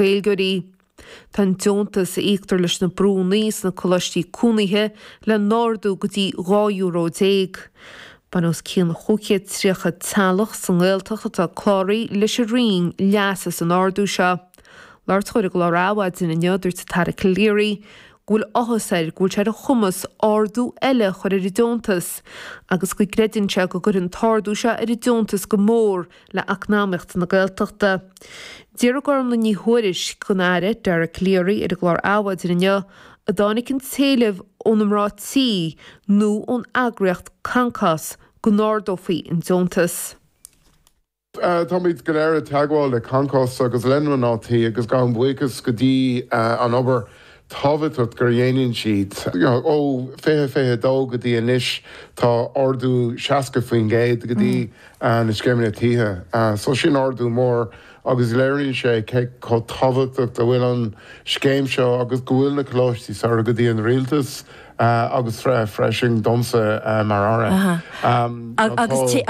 Gaeilgeoirí. Tá an deontas a íoctar leis na brúnna sna coláistí cónaithe le n-ardú go dtí €12 euro. Baineann os cionn 530 teaghlach sa nGaeltacht atá cláraithe leis an Roinn leas as an ardú seo. Labhairt dó ar an gclár Adhmhaidin inniu, dúirt an tAire Calleary go bhfuil áthas air go bhfuil sé ar a chumas ardú eile a chur ar an deontas agus go gcreideann sé go gcuirfidh an t-ardú seo ar an deontas go mór le eacnamaíocht na Gaeltachta. D'fhiafraigh Gormlaith Ní Thuairisg den Aire Dara Calleary ar an gclár Adhmhaidin inniu an dtáinig an t-éileamh ó na mná tí nó ón eagraíocht Concos go n-ardófaí an deontas. Táimid go léir i dteagmháil le Concos agus le na mná tí agus gabhaim buíochas go dtí an obair tábhachtach gur dhéanann siad. Ó 2022 go dtí anois tá ardú 60% go dtí na scéimeanna tithe. So sin ardú mór agus léiríonn sé cé chomh tábhachtach a bhfuil an scéim seo agus go bhfuil na coláistí samhraidh go dtí an rialtas agus freisin domsa mar Aire. Agus tuigim.